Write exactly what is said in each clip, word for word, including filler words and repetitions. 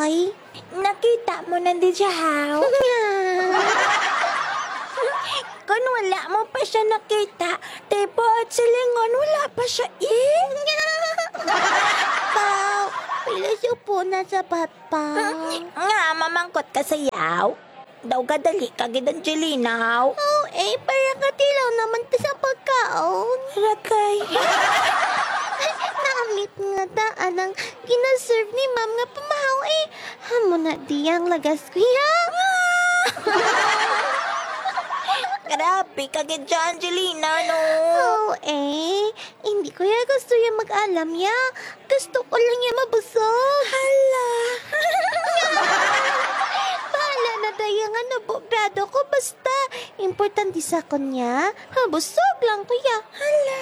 Ay, nakita mo na di siya, haw? Kung wala mo pa siya nakita, tibuot silingon, wala pa siya, eh. Pau, pila siya po na sa papa? Nga, mamangkot ka sa yaw? Daw gadali ka gid, Angelina, haw? Oh, eh, para katilaw naman ta sa pagkaon. Rakay. Naamit nga daan ang ginaserve ni ma'am nga pamahaw, eh. Amo na di ang lagas, kuya. Grabe ka gid dyan, Angelina, no? Oh, eh. Hindi ko ya gusto ya mag-alam ya. Gusto ko lang ya mabusog. Hala. Bahala na daya nga nabugrado ko. Basta, importante sa akon ya, mabusog lang ko ya. Hala.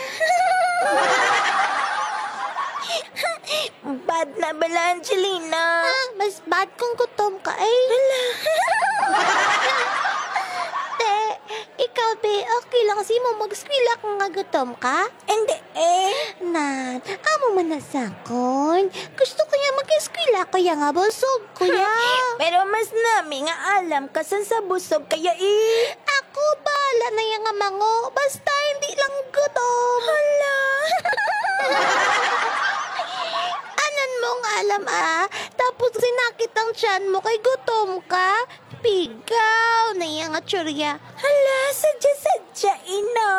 Bad na bala, Angelina. Ah, mas bad kung gutom ka, eh. Hala. Te, ikaw, be, okay lang sa imo mag-eskwela kung nga gutom ka? Hindi, eh. Nan, amo man na sakon. Gusto ko ya mag-eskwela, kaya nga busog ko ya. Pero mas nami nga alam ka san sa busog kaya, eh. Ako, bahala na ya nga mango. Basta hindi lang gutom. Hala. Anan mo nga alam, ah. Tapos sinakit ang tiyan mo kay gutom ka. Pigaw na ya nga tsurya. Hala, sadya-sadya, ina.